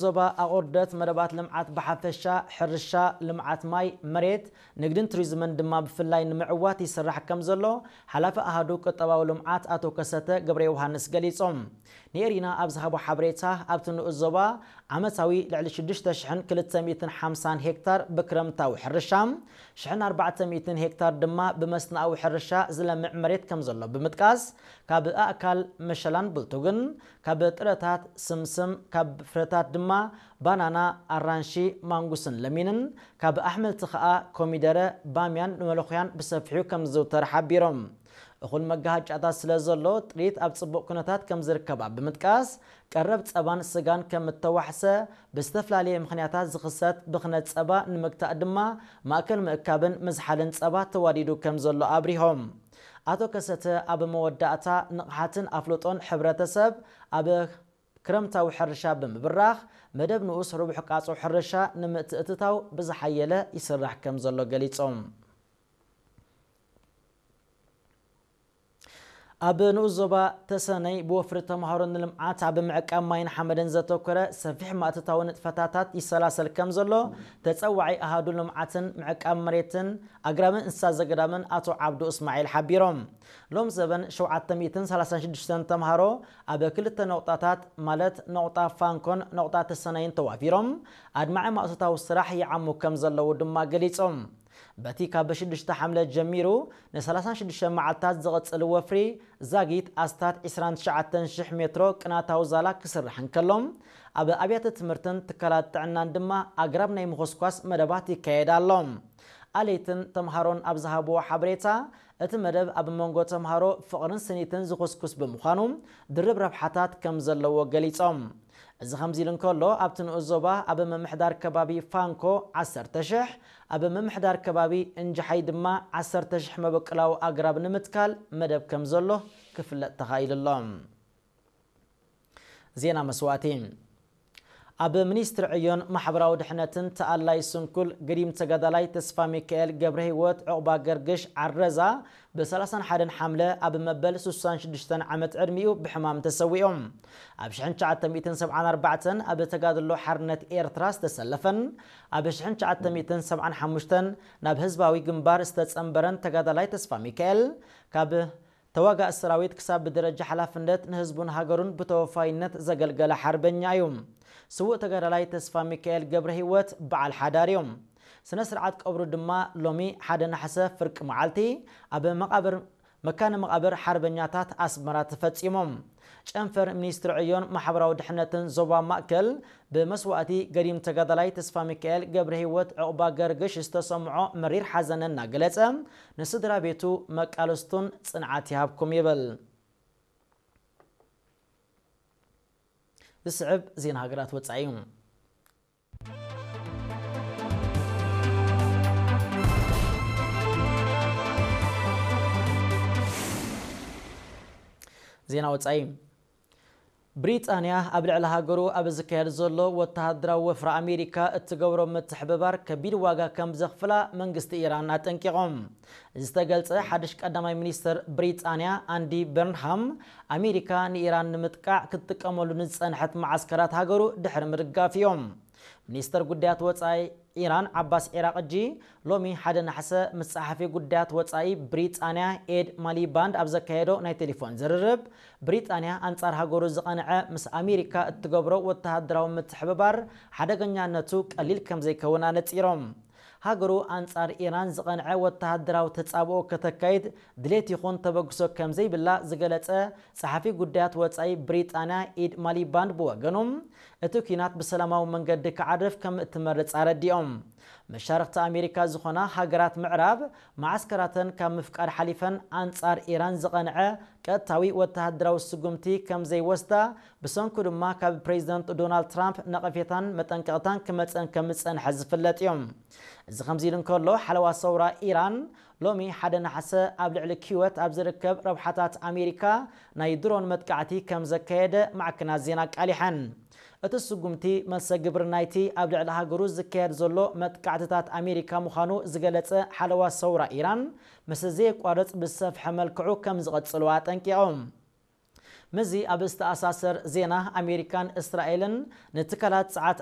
ዞባ ኣቑርደት መደባት ልምዓት ብሓፈሻ፣ ሕርሻ፣ ልምዓት ማይ፣ መሬት፣ ንግድን ቱሪዝምን ድማ ብፍላይ ንምዕዋት ይስራሕ ከም ዘሎ ሓላፊ ኣሃዱ ቁጠባዊ ልምዓት ኣቶ ከሰተ ገብረ ዮሃንስ ገሊጾም። ንኤሪና ኣብ ዝሃቦ ሓበሬታ፣ ኣብቲ ንኡስ ዞባ ዓመታዊ ልዕሊ ሽዱሽተ ሽሕን ክልተ ሚእትን ሓምሳን ሄክታር ብክረምታዊ ሕርሻ፣ ሽሕን ኣርባዕተ ሚእትን ሄክታር ድማ ብመስናኣዊ ሕርሻ ዝለምዕ መሬት ከም ዘሎ ብምጥቃስ፣ ካብ ኣእካል መሸላን ብልቱግን፣ ካብ ጥረታት ስምስም፣ ካብ ፍረታት ድማ ባናና፣ ኣራንሺ፣ ማንጉስን ለሚንን፣ ካብ ኣሕምልቲ ከኣ ኮሚደረ፣ ባምያን ንመለኹያን ብሰፊሑ ከም ዝዝውተር ሓቢሮም። እኹል መጋሃጫታት ስለ ዘሎ፣ ጥሪት ኣብ ጽቡቕ ኩነታት ከም ዝርከባ ብምጥቃስ፣ ቀረብ ጸባን ስጋን ከም እተዋሕሰ፣ ብዝተፈላለየ ምኽንያታት ዝኽሰት ብኽነት ጸባ ንምግታእ ድማ ማእከል ምእካብን ምዝሓልን ጸባ ተዋዲዱ ከም ዘሎ ኣብሪሆም። ኣቶ ከሰተ ኣብ መወዳእታ፣ ንቕሓትን ኣፍልጦን ሕብረተሰብ ኣብ ክረምታዊ ሕርሻ ብምብራኽ፣ መደብ ንኡስ ርቡሕ ቃጾ ሕርሻ ንምትእትታው ብዝሓየለ ይስራሕ ከም ዘሎ ገሊጾም። ኣብ ንኡስ ዞባ ተሰነይ ብወፍሪ ተምሃሮ ንልምዓት ኣብ ምዕቃብ ማይን ሓመድን ዘተኮረ ሰፊሕ ማእትታዊ ንጥፈታታት ይሰላሰል ከም ዘሎ ተጸዋዒ ኣሃዱ ልምዓትን ምዕቃብ መሬትን ኣግራብን እንስሳ ዘገዳምን ኣቶ ዓብዱ እስማዒል ሓቢሮም። ሎም ዘበን ሸውዓተ ሚእትን ሰላሳን ሽዱሽተን ተምሃሮ ኣብ ክልተ ነቑጣታት ማለት ነቑጣ ፋንኮን ነቑጣ ተሰነይን ተዋፊሮም ኣድማዒ ማእቶታዊ ስራሕ ይዓሙ ከም ዘለዉ ድማ ገሊጾም። በቲ ካብ ሽዱሽተ ሓምለ ጀሚሩ ንሰላሳን ሽዱሽተ መዓልታት ዝቕጽል ወፍሪ ዛጊት ኣስታት ዕስራን ትሽዓተን ሽሕ ሜትሮ ቅናታዊ ዛላ ክስራሕ እንከሎ፣ ኣብ ኣብያተ ትምህርትን ትካላት ጥዕናን ድማ ኣግራብ ናይ ምኹስኳስ መደባት ይካየድ ኣሎ። ኣለይትን ተምሃሮን ኣብ ዝሃብዎ ሓበሬታ፣ እቲ መደብ ኣብ መንጎ ተምሃሮ ፍቕርን ስኒትን ዝኹስኩስ ብምዃኑ፣ ድርብ ረብሓታት ከም ዘለዎ ገሊጾም። እዚ ከምዚ ኢሉ እንከሎ፣ ኣብቲ ንኡስ ዞባ ኣብ ምምሕዳር ከባቢ ፋንኮ ዓሰርተ ሽሕ፣ ኣብ ምምሕዳር ከባቢ እንጅሓይ ድማ ዓሰርተ ሽሕ መበቆላዊ ኣግራብ ንምትካል መደብ ከም ዘሎ ክፍለጥ ተኻኢሉ ኣሎ። ዜና መስዋእቲ። ኣብ ሚኒስትሪ ዕዮን ማሕበራዊ ድሕነትን ተኣላይ ስንኩል ገዲም ተጋዳላይ ተስፋሚካኤል ገብረህይወት ዑቕባ ገርግሽ ዓረዛ ብ ሰላሳን ሓደን ሓምለ ኣብ መበል ሱሳን ሽዱሽተን ዓመት ዕድሚኡ ብሕማም ተሰዊኡ። ኣብ ሽሕን ትሽዓተ ሚእትን ሰብዓን ኣርባዕተን ኣብ ተጋድሎ ሓርነት ኤርትራ ዝተሰለፈን ኣብ ሽሕን ትሽዓተ ሚእትን ሰብዓን ሓሙሽተን ናብ ህዝባዊ ግንባር ዝተጸንበረን ተጋዳላይ ተስፋሚካኤል፣ ካብ ተዋጋእ ሰራዊት ክሳብ ብደረጃ ሓላፍነት ንህዝቡን ሃገሩን ብተወፋይነት ዘገልገለ ሓርበኛ እዩ። ስዉእ ተጋዳላይ ተስፋሚካኤል ገብረህይወት በዓል ሓዳር እዩ። ስነ ስርዓት ቀብሩ ድማ ሎሚ ሓደ ነሓሰ ፍርቂ መዓልቲ ኣብ መቓብር፣ መካነ መቓብር ሓርበኛታት ኣስመራ ተፈጺሙ። ጨንፈር ሚኒስትሪ ዕዮን ማሕበራዊ ድሕነትን ዞባ ማእከል ብመስዋእቲ ገዲም ተጋዳላይ ተስፋሚካኤል ገብረህይወት ዑቕባ ገርግሽ ዝተሰምዖ መሪር ሓዘን እናገለጸ፣ ንስድራ ቤቱ መቃለስቱን ጽንዓት ይሃብኩም ይብል። ዝስዕብ ዜና ሃገራት ወጻኢ እዩ። ዜና ወጻኢ። ብሪጣንያ ኣብ ልዕሊ ሃገሩ ኣብ ዝካየድ ዘሎ ወተሃደራዊ ወፍሪ ኣሜሪካ እትገብሮ ምትሕብባር ከቢድ ዋጋ ከም ዘኽፍላ መንግስቲ ኢራን ኣጠንቂቖም። ዝተገልጸ ሓድሽ ቀዳማይ ሚኒስትር ብሪጣንያ ኣንዲ በርንሃም፣ ኣሜሪካ ንኢራን ንምጥቃዕ ክትጥቀመሉ ንዝጸንሐት መዓስከራት ሃገሩ ድሕሪ ምድጋፍ እዮም። ሚኒስተር ጉዳያት ወጻኢ ኢራን ዓባስ ዒራቕጂ ሎሚ ሓደ ነሓሰ ምስ ጸሓፊ ጉዳያት ወጻኢ ብሪጣንያ ኤድ ማሊባንድ ኣብ ዘካየዶ ናይ ቴሌፎን ዝርርብ፣ ብሪጣንያ ኣንጻር ሃገሩ ዝቐንዐ ምስ ኣሜሪካ እትገብሮ ወተሃደራዊ ምትሕብባር ሓደገኛነቱ ቀሊል ከም ዘይከውን ኣነጺሮም። ሃገሩ ኣንጻር ኢራን ዝቐንዐ ወተሃደራዊ ተጻብኦ ከተካይድ ድሌት ይኹን ተበግሶ ከም ዘይብላ ዝገለጸ ጸሓፊ ጉዳያት ወጻኢ ብሪጣንያ ኢድ ማሊባንድ ብወገኑ፣ እቲ ኲናት ብሰላማዊ መንገዲ ክዓርፍ ከም እትመርጽ ኣረዲኦም። መሻርኽቲ ኣሜሪካ ዝኾና ሃገራት ምዕራብ፣ መዓስከራተን ካብ ምፍቃድ ሓሊፈን ኣንጻር ኢራን ዝቐንዐ ቀጥታዊ ወተሃደራዊ ስጉምቲ ከም ዘይወስዳ፣ ብሰንኩ ድማ ካብ ፕሬዚደንት ዶናልድ ትራምፕ ነቐፌታን መጠንቀቕታን ክመጸን ከም ዝጸንሐ ዝፍለጥ እዩ። እዚ ከምዚ ኢሉ እንከሎ፣ ሓለዋ ሰውራ ኢራን ሎሚ ሓደ ነሓሰ ኣብ ልዕሊ ኪወት ኣብ ዝርከብ ረብሓታት ኣሜሪካ ናይ ድሮን መጥቃዕቲ ከም ዘካየደ ማዕከናት ዜና ኣቃሊሐን። እቲ ስጉምቲ መልሰ ግብሪ ናይቲ ኣብ ልዕሊ ሃገሩ ዝካየድ ዘሎ መጥቃዕትታት ኣሜሪካ ምዃኑ ዝገለጸ ሓለዋ ሰውራ ኢራን፣ ምስ ዘየቋርጽ ብዝሰፍሐ መልክዑ ከም ዝቐጽሉ ኣጠንቂቖም። ምዚ ኣብ ዝተኣሳሰር ዜና፣ ኣሜሪካን እስራኤልን ንትካላት ጸዓት